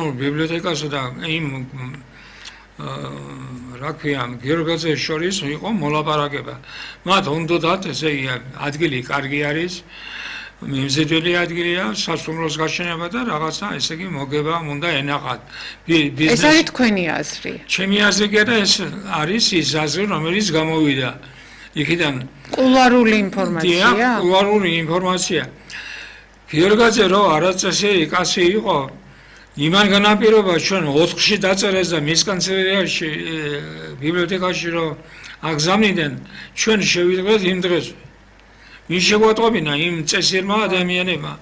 ეროვნულ ბიბლიოთეკასა და იმ რა ქვია გიორგაძეს შორის იყო მოლაპარაკება. მათ უნდათ ესე ადგილი კარგი არის, მიმზიდველი ადგილია, სასტუმროს გაშენება და რაღაცა ესე იგი მოგება უნდა ენახათ. ეს არის თქვენი აზრი. ჩემი აზრი კი არა, ეს არის ის აზრი, რომელიც გამოვიდა იქიდან. კულუარული ინფორმაცია? კულუარული ინფორმაცია. გიორგაძე რო არაწესიერი კაცი იყო, იმან განაპირობა ჩვენ 4-ში დაწერეს და მის კანცელერიაში ბიბლიოთეკაში რო აგზავნიდნენ, ჩვენ შევიდგეთ იმ დღეს. ვინ შეგვატყობინა იმ წესიერმა ადამიანებმა,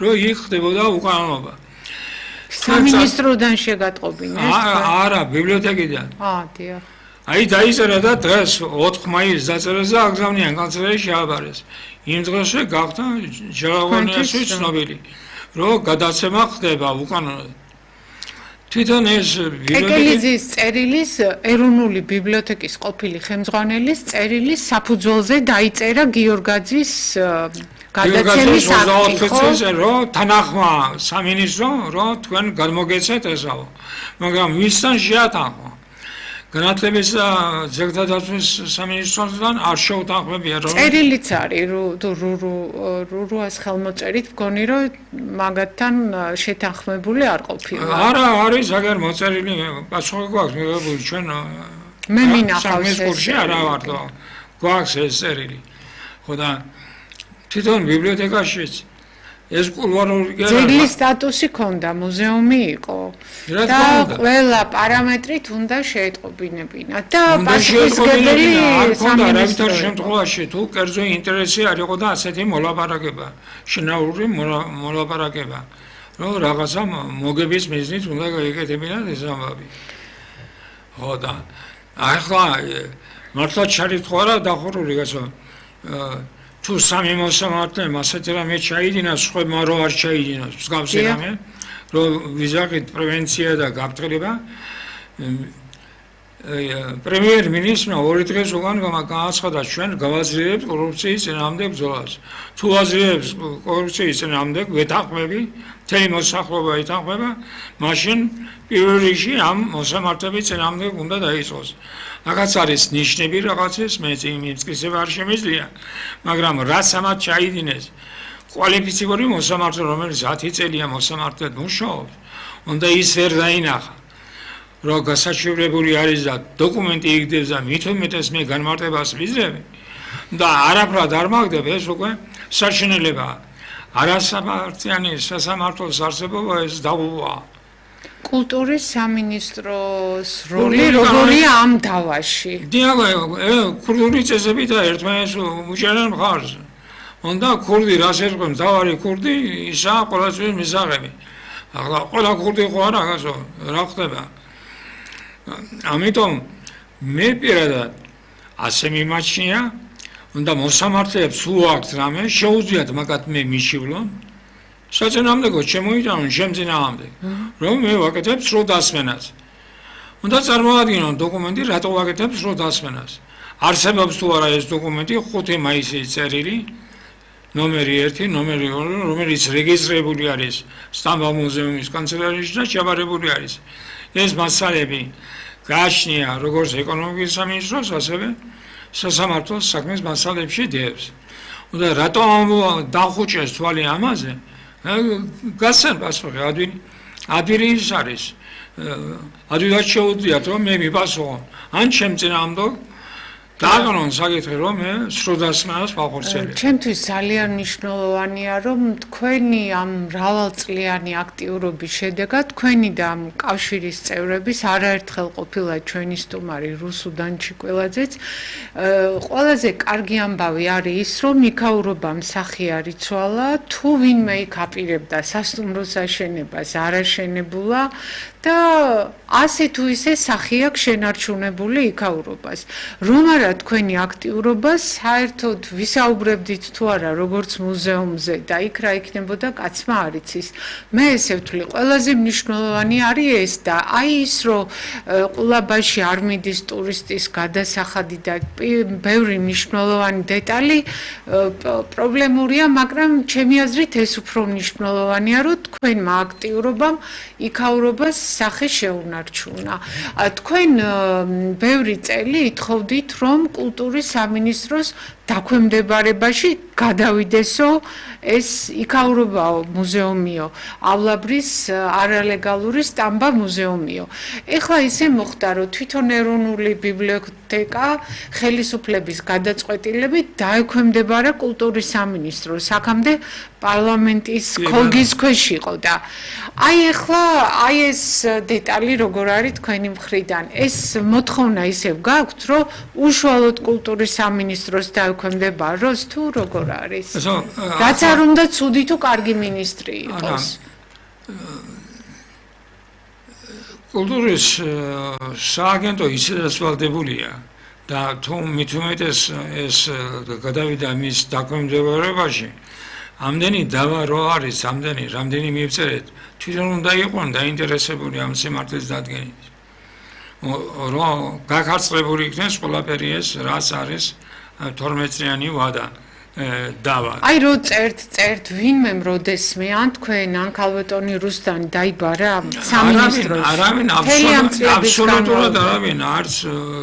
რომ იქ ხდებოდა უკანონობა. სამინისტროდან შეგატყობინეს? არა, ბიბლიოთეკიდან. დიახ. აი დაიწერა და დღეს 4 მაისს დაწერეს და აგზავნიან კანცელერიაში შეაბარეს. იმ დღესვე გახდა ჯერალოვანიასვით ცნობილი, რომ გადაცემა ხდება უკანონოდ. თვითონ ეს ეკელიძის წერილის ეროვნული ბიბლიოთეკის ყოფილი ხელმძღვანელის წერილის საფუძველზე დაიწერა გიორგაძის გადაცემის აქტი, ხო? რომ თანახმა სამინისტრო, რომ თქვენ გადმოგეცეთ ესაო. მაგრამ ვისთან შეათანხმა? განათლების და ძეგლთა დაცვის სამინისტროსთან არ შეუთანხმებია რომ წერილიც არის რუას ხელმოწერით მგონი რომ მაგათთან შეთანხმებული არ ყოფილა. არა, არის აგერ მოწერილი პასუხი გვაქვს მიღებული ჩვენ მე მინახავს ეს არა ვარდო გვაქვს ეს წერილი. ხო და თვითონ ბიბლიოთეკაშიც ეს კულუარული ძეგლის სტატუსი ქონდა, მუზეუმი იყო და ყველა პარამეტრით უნდა შეეტყობინებინათ და პასუხისმგებელი სამინისტრო შემთხვევაში თუ კერძო ინტერესი არ იყო და ასეთი მოლაპარაკება, შინაური მოლაპარაკება, რომ რაღაცა მოგების მიზნით უნდა გაიკეთებინათ ეს ამბავი. ხო და ახლა მართლა ჩარიცხვა რა დახურული გასო თუ სამი მოსამართლე ასეთი რამე ჩაიდინას, სხვებმა რო არ ჩაიდინოს, მსგავსი რამე, რომ ვიზახით პრევენცია და გაფრთხილება. პრემიერ-მინისტრმა 2 დღეს უკან განაცხადა, ჩვენ გავაძლიერებთ კორუფციის წინააღმდეგ ბრძოლას. თუ აძლიერებს კორუფციის წინააღმდეგ ვეთანხმები, მთელი მოსახლეობა ეთანხმება, მაშინ პირველ რიგში ამ მოსამართლეების წინააღმდეგ უნდა დაიწყოს. Რაღაც არის ნიშნები რაღაცის, მე იმისკისება არ შემიძლია, მაგრამ რაც ამათ ჩაიდინეს, კვალიფიციური მოსამართლე, რომელიც 10 წელია მოსამართლედ მუშაობს, უნდა ის ვერ დაინახა, რომ გასაჩივრებული არის და დოკუმენტი იგდებს და მით უმეტეს მე განმარტებას ვიძლევი და არაფრად არ მაგდებ, ეს უკვე საშინელებაა. არასამართლიანი სასამართლოს არსებობა ეს დაუვაა. კულტურის სამინისტროს როლი როგორია ამ დავაში? კულტურის წესები და ერთმანეთს უჭერენ მხარს. უნდა ქურდი რას ერწყმის, დავარი ქურდი, ისაა ყოველთვის მისაღები. ახლა ყველა ქურდი ხო არა გასო, რა ხდება? ამიტომ მე პირადად ასე მიმაჩნია, უნდა მოსამართლეებს თუ აქვს რამე, შეუძლიათ მაგათ მე მიშივლონ. საწინააღმდეგო შემოიტანონ შემწინააღმდეგ, რომ მე ვაკეთებ სრულ დასმენას. უნდა წარმოადგინონ დოკუმენტი, რატო ვაკეთებ სრულ დასმენას. არსებობს თუ არა ეს დოკუმენტი 5 მაისის წერილი, ნომერი 1, ნომერი 2, რომელიც რეგისტრირებული არის სტამბოლ მუზეუმის კანცელერიაში და ჩაბარებული არის. ეს მასალები გააჩნია როგორც ეკონომიკის სამინისტროს, ასევე სასამართლოს საქმის მასალებში დევს. უნდა რატო დახუჭეს თვალი ამაზე? გასცენ პასუხი, ადვილი ის არის. ადვილად შეუძლიათ რომ მე მიპასუხო. ან ჩემ წინააღმდეგ დააგონონ საკითხი რომ მე სრულ დასმენას ვახორციელებ. ჩემთვის ძალიან მნიშვნელოვანია რომ თქვენი ამ მრავალწლიანი აქტიურობის შედეგად თქვენი და ამ კავშირის წევრების არაერთხელ ყოფილა ჩვენი სტუმარი რუსუდან ჩიკველაძეც. ყველაზე კარგი ამბავი არის ის რომ იქაურობამ სახე არ იცვალა, თუ ვინმე იქ აპირებდა სასტუმროს აშენებას არ აშენებულა და ასე თუ ისე სახე აქვს შენარჩუნებული იქაურობას. რომ არ იმღერა თქვენი აქტიურობა, საერთოდ ვისაუბრებდით თუ არა როგორც მუზეუმზე და იქ რა იქნებოდა კაცმა არ იცის. მე ესე ვთვლი, ყველაზე მნიშვნელოვანი არის ეს და აი ის რომ ყულაბაში არ მიდის ტურისტის გადასახადი და ბევრი მნიშვნელოვანი დეტალი პრობლემურია, მაგრამ ჩემი აზრით ეს უფრო მნიშვნელოვანია, რომ თქვენმა აქტიურობამ იქაურობას სახე შეუნარჩუნა. თქვენ ბევრი წელი ითხოვდით, რომ კულტურის სამინისტროს დაქვემდებარებაში გადავიდესო ეს იქაურობაო მუზეუმიო, ავლაბრის არალეგალური სტამბა მუზეუმიო. ეხლა ისე მოხდა, რომ თვითონ ეროვნული ბიბლიოთეკა ხელისუფლების გადაწყვეტილებით დაექვემდებარა კულტურის სამინისტროს, აქამდე პარლამენტის ქოლგის ქვეშ იყო და აი ეხლა აი ეს დეტალი როგორ არის თქვენი მხრიდან? ეს მოთხოვნა ისევ გაქვთ, რომ უშუალოდ კულტურის სამინისტროს დაექვემდებაროს თუ როგორ არის? რაც არ უნდა ცუდი თუ კარგი მინისტრი იყოს. კულტურის სააგენტო ისედაც ვალდებულია და თუ მით უმეტეს ეს გადავიდა მის დაქვემდებარებაში, ამდენი დავა რო არის, რამდენი მივწერეთ, თვითონ უნდა იყვნენ დაინტერესებული ამ სიმართლის დადგენით. რომ გაქარწყლებული იქნეს ყველაფერი ეს, რაც არის 12-წლიანი ვადა. დავა. აი რო წერთ ვინმემ როდესმე ან თქვენ ან ქალბატონი რუსტანი დაიბარა სამინისტროში. არავინ აბსოლუტურად არავინ არც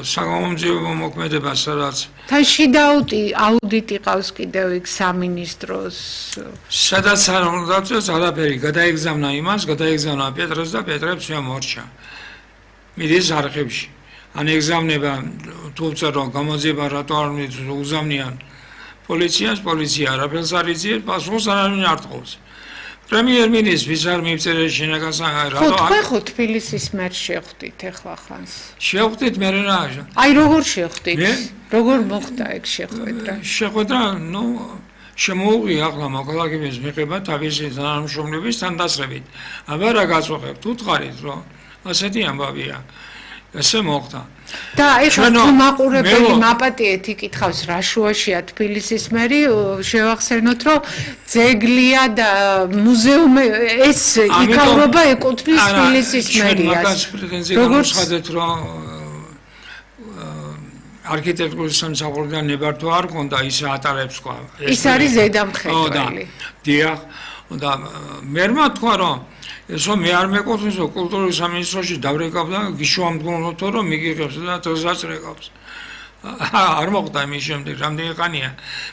საგამომძიებო მოქმედება სადაც თან შიდა აუდიტი ყავს კიდევ იქ სამინისტროს. სადაც არ უნდა წეს არაფერი გადაიგზავნა იმას, გადაიგზავნა პეტრეს და პეტრებს შემორჩა. მიდის არხებში. ან ეგზავნება თუ წერო გამოძიება რატო არ უზამნიან პოლიცია არაფერს არ იცის, პასუხს არავინ არ თხოვს. პრემიერ-მინისტრის არ მივწერე შინაგან რატო ხო თბილისის მერს შეხვდით ეხლა ხანს. შეხვდით მე რა. აი როგორ შეხვდით? როგორ მოხდა ეგ შეხვედრა? შეხვედრა, შემოუღია ახლა მოქალაქეების მიღება თავისი თანამშრომლებისთან დასწრებით. აბა რა გაწუხებთ? უთხარით რომ ასეთი ამბავია. ესე მოხდა. და ეხლა თუ მაყურებელი მაპატიეთ იკითხავს რა შუაშია თბილისის მერი, შევახსენოთ რომ ძეგლია და მუზეუმი ეს იქაურობა ეკუთვნის თბილისის მერიას. როგორც ხადეთ რომ არქიტექტურის სამსახურიდან ნებართვა არ ქონდა, ისე ატარებს თქვა. ის არის ზედამხედველი. დიახ, და მერმა თქვა რომ ესო მე არ მეკუთვნის რომ კულტურის სამინისტროში დავრეკავ და გიშუამდგმოთ რომ მიგიღებს და დღესაც რეკავს. არ მოხდა იმის შემდეგ რამდენი ხანია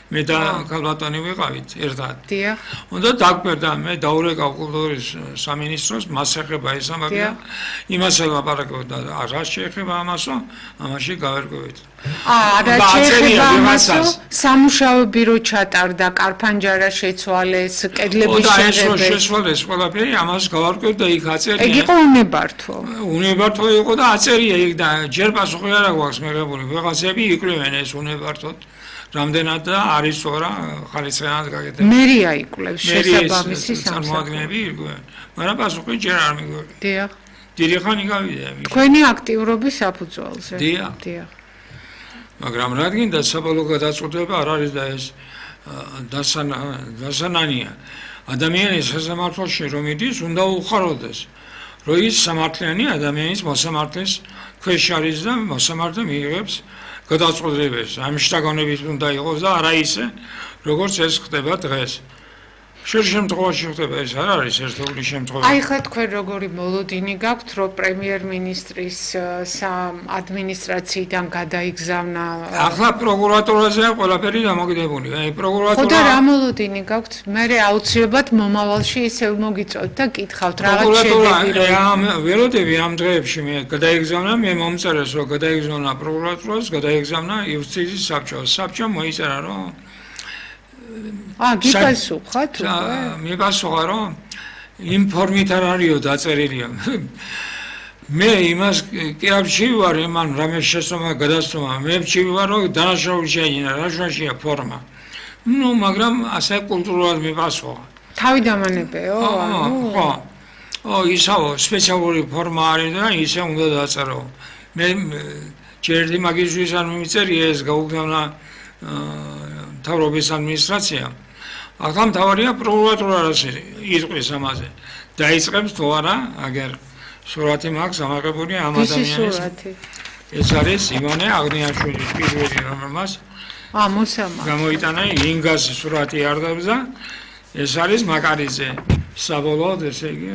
მე და ქალბატონი ვიყავით ერთად. დიახ. უნდა დაგკვირდა მე დავრეკავ კულტურის სამინისტროს მას ეხება ეს ამბავია. იმას ელაპარაკებდა რა შეეხება ამასო, ამაში გავერკვევით. რა შეეხება ამასო, სამუშაო ბირო ჩატარდა, კარფანჯარა შეცვალეს, კედლების შეღებეს. და ეს შეცვალეს ყველაფერი, ამას გავარკვევთ და იქ აწერია. ეგ იყო უნებართვო. უნებართვო იყო და აწერია იქ და ჯერ პასუხი არ აქვს მიღებული. ვიღაცები იკვლევენ ეს უნებართვოდ. რამდენად და არის თორა ხარისხიანად გაკეთებული. მერია იკვლევს შესაბამისი წარმოადგენლები იკვლევენ. მაგრამ პასუხი ჯერ არ მიგვეღება. დიახ. დიდი ხანი გავიდა. თქვენი აქტიურობის საფუძველზე. დიახ. მაგრამ რადგან საბოლოო გადაწყვეტილება არ არის და ეს დასანანია. ადამიანის სასამართლოში რომ იდის, უნდა უხაროდეს, რომ ის სამართლიანი ადამიანის მოსამართლის ქვეშ არის და მოსამართლე მიიღებს გადაწყვეტილებას. ამ შტაგონებით უნდა იყოს და არა ისე, როგორც ეს ხდება დღეს. შემთხვევაში ხდება ეს არ არის ერთეული შემთხვევა. აი ხა თქვენ როგორი მოლოდინი გაქვთ, რომ პრემიერ-მინისტრის ადმინისტრაციიდან გადაიგზავნა? ახლა პროკურატურაზეა ყველაფერი დამოკიდებული. აი პროკურატურა. ხო და რა მოლოდინი გაქვთ? მე აუცილებლად მომავალში ისევ მოგიწევთ და კითხავთ რაღაც შედეგი. ველოდები ამ დღეებში მე გადაიგზავნა, მე მომწერეს რომ გადაიგზავნა პროკურატურას, გადაიგზავნა იუსტიციის საბჭოს. საბჭო მოიწერა რომ გიპასუხა თუ? მიპასუხა რომ იმ ფორმით არ არისო დაწერილია. მე იმას კი არ ვარ, იმან რამე შესწომა გადასწომა. მე ვარ რომ დანაშაული შეინა, რა შუაშია ფორმა. მაგრამ ასე კულტურულად მიპასუხა. თავიდამანებეო? ხო. ისაო სპეციალური ფორმა არის და ისე უნდა დაწერო. მე ჯერდი მაგისთვის არ მიმიწერია ეს გაუგზავნა მთავრობის ადმინისტრაციამ. ახლა მთავარია პროკურატურა რაც იტყვის ამაზე. დაიწყებს თუ არა, აგერ სურათი მაქვს ამაღებული ამ ვისი ადამიანის. სურათი? ეს არის ივანე აღნიაშვილის პირველი რომელმაც მოსამა. გამოიტანა ინგას სურათი არდაბზა. ეს არის მაკარიძე. საბოლოოდ ესე იგი